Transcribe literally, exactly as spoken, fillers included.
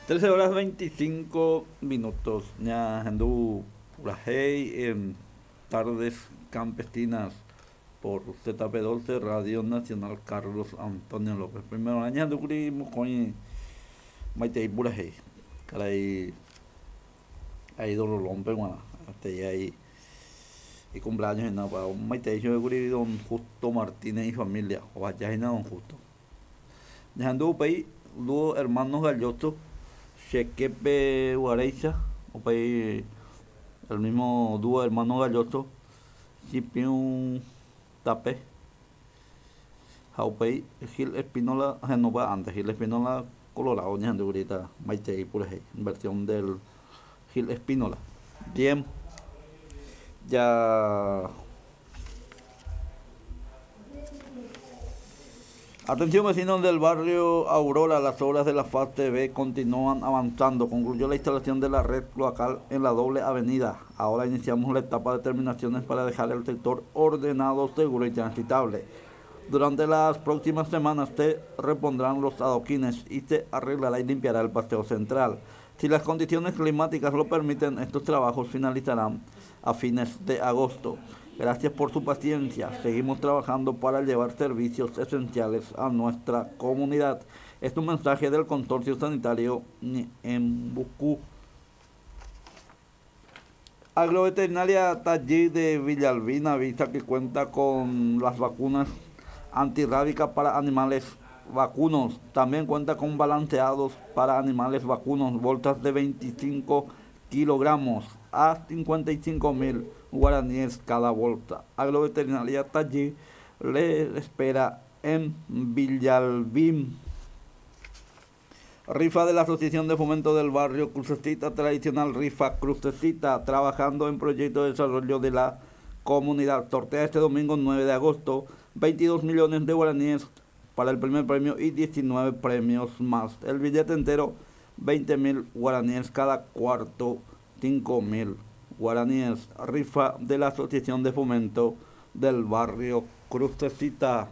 Trece horas veinticinco minutos. Ñahendu purahéi en Tardes Campesinas por Z P doce Radio Nacional Carlos Antonio López. Primero ñahendúkuri mokõi maitei purahéi. Karai Aido Rolón peguarã. Hasta ahí y cumpleaños en nada. Maitei kuri don Justo Martínez y familia. O allá en don Justo. Ñahendu upéi dúo Hermanos Galloso, Chequepe Guareiza, upéi el mismo dúo Hermanos Galloso, Chipiun Tape, ha upéi Gil Espínola, no antes, Gil Espínola Colorado, ñahendu ahorita, maitei purahéi, versión del Gil Espínola. Bien, ya. Atención vecinos del barrio Aurora, las obras de la fase B continúan avanzando. Concluyó la instalación de la red cloacal en la doble avenida. Ahora iniciamos la etapa de terminaciones para dejar el sector ordenado, seguro y transitable. Durante las próximas semanas se repondrán los adoquines y se arreglará y limpiará el paseo central. Si las condiciones climáticas lo permiten, estos trabajos finalizarán a fines de agosto. Gracias por su paciencia. Seguimos trabajando para llevar servicios esenciales a nuestra comunidad. Es un mensaje del Consorcio Sanitario Ñeembucú. Agroveterinaria Taller de Villalbín avisa que cuenta con las vacunas antirrábicas para animales vacunos. También cuenta con balanceados para animales vacunos, bolsas de veinticinco kilogramos a cincuenta y cinco mil guaraníes cada bolsa. Agroveterinaria Taller le espera en Villalbín. Rifa de la Asociación de Fomento del Barrio Crucecita, tradicional rifa Crucecita, trabajando en proyecto de desarrollo de la comunidad. Sortea este domingo nueve de agosto veintidós millones de guaraníes para el primer premio y diecinueve premios más. El billete entero, veinte mil guaraníes cada cuarto, cinco mil guaraníes. Rifa de la Asociación de Fomento del Barrio Crucecita.